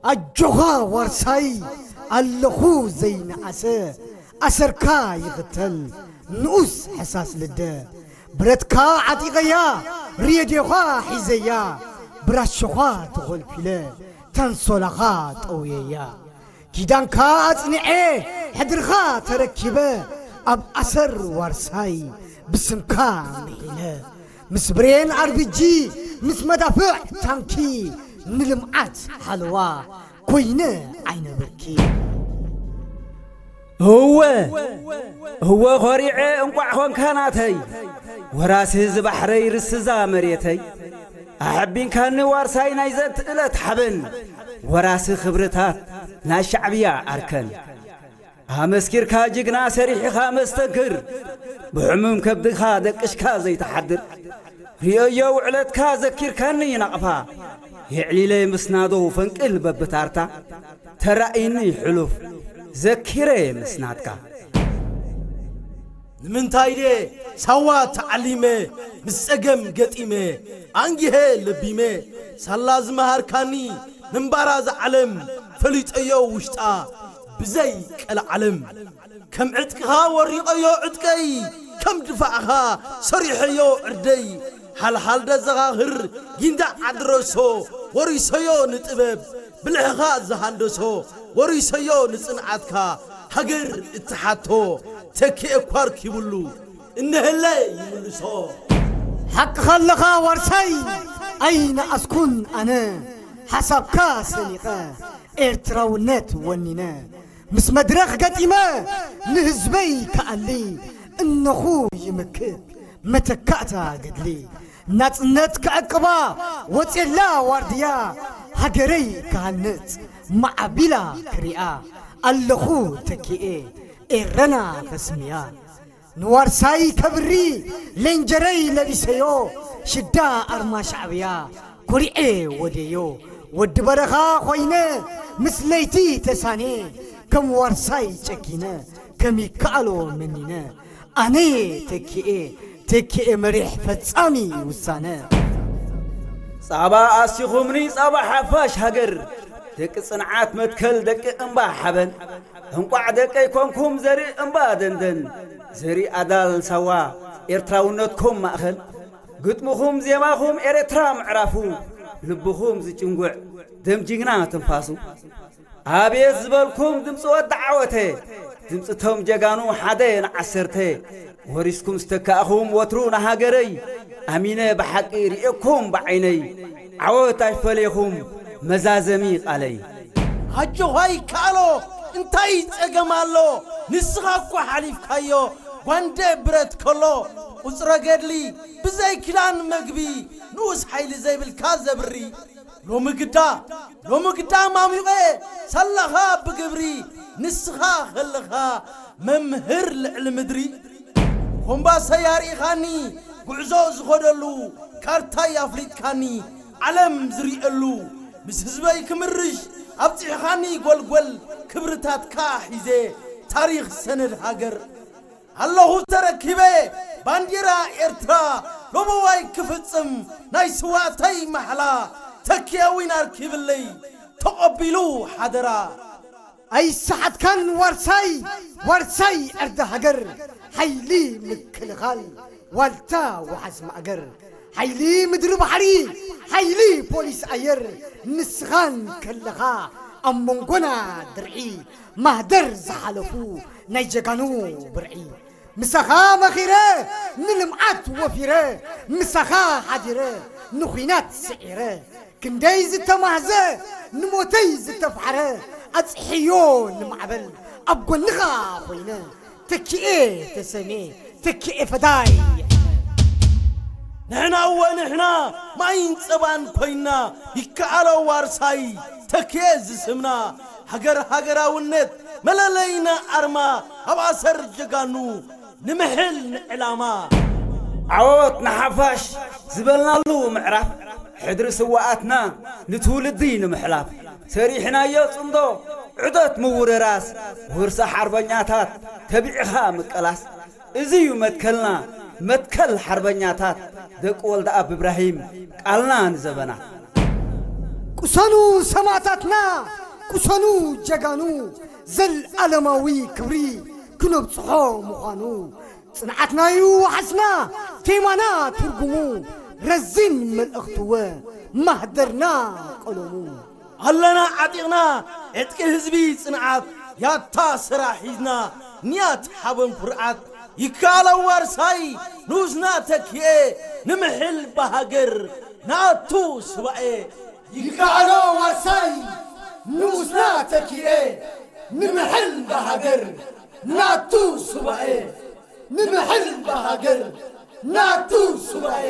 ኣጆኻ ዋርሳይ ኣለኹ ዘይነኣሰ፣ ኣሰርካ ይኽተል ንኡስ ሕሳስ ልደ። ብረትካ ዓጢቐያ፣ ሬድዮኻ ሒዘያ፣ ብራሾኻ ተኾልፊለ፣ ታንሶላኻ ጠውየያ። ኪዳንካ ኣጽኒዐ፣ ሕድርኻ ተረኪበ፣ ኣብ ኣሰር ዋርሳይ ብስምካ ምሒለ። ምስ ብሬን ኣርቢጂ፣ ምስ መዳፍዕ ታንኪ፣ ንልምዓት ሓለዋ ኮይነ ዓይነ ብርኪ። እወ፣ እወ ኾሪዐ እንቋዕ ኾንካ ናተይ፣ ወራሲ እዚ ባሕረይ ርስዛ መሬተይ። ኣሐቢንካኒ ዋርሳይ ናይ ዘንት እለት ሓበን፣ ወራሲ ክብርታት ናይ ሻዕብያ ኣርከን። ኣመስኪርካ ጅግና ሰሪሕኻ መስተንክር፣ ብሕሙም ከብድኻ ደቅሽካ ዘይትሓድር። ርእየዮ ውዕለትካ ዘኪርካኒ ናቕፋ፣ የዕሊለይ ምስናዶ ፈንቅል በብታርታ። ተራእይኒ ሕሉፍ ዘኪረ ምስናትካ። ንምንታይ ድየ ሳዋ ተዓሊመ፣ ምስ ጸገም ገጢመ፣ ኣንጊሀ ለቢመ፣ ሳላ ዝመሃርካኒ፣ ምንባራ ዝዓለም፣ ፈሊጠዮ ውሽጣ፣ ብዘይ ቀልዓለም። ከም ዕጥቅኻ ወሪቐዮ ዕጥቀይ፣ ከም ድፋዕኻ ሰሪሐዮ ዕርደይ። ሓልሓል ደዘኻኽር ጊንዳዕ ዓድረሶ፣ ወሪሰዮ ንጥበብ፣ ብልሕኻ ዝሃንደሶ፣ ወሪሰዮ ንጽንዓትካ፣ ሃገር እትሓቶ፣ ተኪኤ እኳ ኣርኪቡሉ፣ እነሀለ ይምልሶ። ሓቅኻ ኣለኻ ዋርሳይ፣ ኣይነኣስኩን ኣነ፣ ሓሳብካ ሰኒቐ፣ ኤርትራውነት ወኒነ፣ ምስ መድረኽ ገጢመ፣ ንህዝበይ ክኣሊ፣ እነኹ ይምክት፣ መተካእታ ገድሊ። ናጽነት ክዕቅባ፣ ወጼላ ዋርድያ፣ ሃገረይ ክሃንጽ፣ ማዕቢላ ክሪኣ፣ ኣለኹ ተኪኤ፣ ኤረና ከስምያ። ንዋርሳይ ከብሪ ሌንጀረይ ለቢሰዮ፣ ሽዳ ኣርማ ሻዕብያ ኮሪዐ ወደዮ። ወዲ በረኻ ኮይነ ምስ ለይቲ ተሳኔ፣ ከም ዋርሳይ ጨኪነ ከም ይከኣሎ መኒነ። ኣነየ ተኪኤ፣ ተኪኤ መሪሕ ፈጻሚ ውሳነ። ጻባ ኣሲኹምኒ ጻባ ሓፋሽ ሃገር፣ ደቂ ጽንዓት መትከል ደቂ እምባ ሓበን። እንቋዕ ደቀይ ኮንኩም ዘርኢ እምባ ደንደን፣ ዘርኢ ኣዳል ሳዋ ኤርትራውነትኩም ማእኸል። ግጥምኹም ዜማኹም ኤርትራ ምዕራፉ፣ ልብኹም ዝጭንጉዕ ደም ጅግና ትንፋሱ። ኣቤት ዝበልኩም ድምፂ ወዲ ዓወተ፣ ድምፂ ቶም ጀጋኑ ሓደ ንዓሰርተ። ወሪስኩም ዝተካእኹም ወትሩ ንሃገረይ፣ ኣሚነ ብሓቂ ርእየኩም ብዓይነይ፣ ዓወት ኣይፈለየኹም መዛዘሚ ቃለይ። ኣጆኻ ይከኣሎ፣ እንታይ ጸገም ኣሎ? ንስኻ እኮ ሓሊፍካዮ። ጓንደ ብረት ከሎ፣ ቁጽረ ገድሊ፣ ብዘይ ክዳን መግቢ፣ ንኡስ ሓይሊ ዘይብልካ ዘብሪ። ሎሚ ግዳ፣ ሎሚ ግዳ ማሚቐ፣ ሳላኻ ብግብሪ፣ ንስኻ ከለኻ መምህር ልዕሊ ምድሪ። ኮምባሰይ ኣርኢኻኒ፣ ጉዕዞ ዝኸደሉ፣ ካርታይ ኣፍሊጥካኒ፣ ዓለም ዝርእየሉ፣ ምስ ህዝበይ ክምርሽ ኣብጺሕኻኒ ጎልጎል፣ ክብርታትካ ሒዘ፣ ታሪኽ ሰነድ ሃገር። ኣለኹ ተረኪበ፣ ባንዲራ ኤርትራ፣ ሎበዋይ ክፍጽም፣ ናይ ስዋእተይ ማሕላ፣ ተኪኤ ዊን ኣርኪብለይ፣ ተቐቢሉ ሓደራ። ኣይሰሓትካን ዋርሳይ፣ ዋርሳይ ዕርዲ ሃገር፣ ሓይሊ ምክልኻል፣ ዋልታ ወሓዝ ማእገር፣ ሓይሊ ምድሪ ባሕሪ፣ ሓይሊ ፖሊስ ኣየር፣ ንስኻን ከለኻ ኣብ መንጎና ድርዒ፣ ማህደር ዝሓለፉ ናይ ጀጋኑ ብርዒ። ምሳኻ መኺረ፣ ንልምዓት ወፊረ፣ ምሳኻ ሓዲረ፣ ንኹናት ስዒረ፣ ክንደይ ዝተማህዘ፣ ንሞተይ ዝተፍሓረ፣ ኣጽሕዮ ንማዕበል፣ ኣብ ጎንኻ ኮይነ፣ ተኪኤ ተሰሜ፣ ተኪኤ ፈዳይ። ንሕና እወ ንሕና፣ ማይን ጸባን ኮይና፣ ይከኣሎ ዋርሳይ፣ ተኪኤ ዝስምና፣ ሃገር ሃገራውነት፣ መለለይና ኣርማ፣ ኣብ ኣሰር ጀጋኑ፣ ንምሕል ንዕላማ። ዓወት ንሓፋሽ ዝበልናሉ ምዕራፍ፣ ሕድሪ ስውኣትና ንትውልዲ ንምሕላፍ፣ ሰሪሕናዮ ጽምዶ ዑደት ምውርራስ፣ ውርሲ ሓርበኛታት ተቢዕኻ ምቀላስ፣ እዚ እዩ መትከልና፣ መትከል ሓርበኛታት ደቂ ወልደኣብ እብራሂም፣ ቃልና ንዘበናት። ቅሰኑ ሰማእታትና፣ ቅሰኑ ጀጋኑ፣ ዘለኣለማዊ ክብሪ ክነብጽሖ ምዃኑ። ጽንዓትናዩ ዋሕስና፣ ቴማና ትርጉሙ፣ ረዚን መልእኽትወ፣ ማህደርና ቀለሙ። ኣለና ዓጢቕና ዕጥቂ ህዝቢ ጽንዓት፣ ያታ ሰራሕ ሒዝና ንያት ሓበን ኩርዓት። ይከኣሎ ዋርሳይ ንኡስና ተኪኤ፣ ንምሕል ብሃገር ንኣቱ ሱባኤ። ይከኣሎ ዋርሳይ ንኡስና ተኪኤ፣ ንምሕል ብሃገር ንኣቱ ሱባኤ። ንምሕል ብሃገር ንኣቱ ሱባኤ።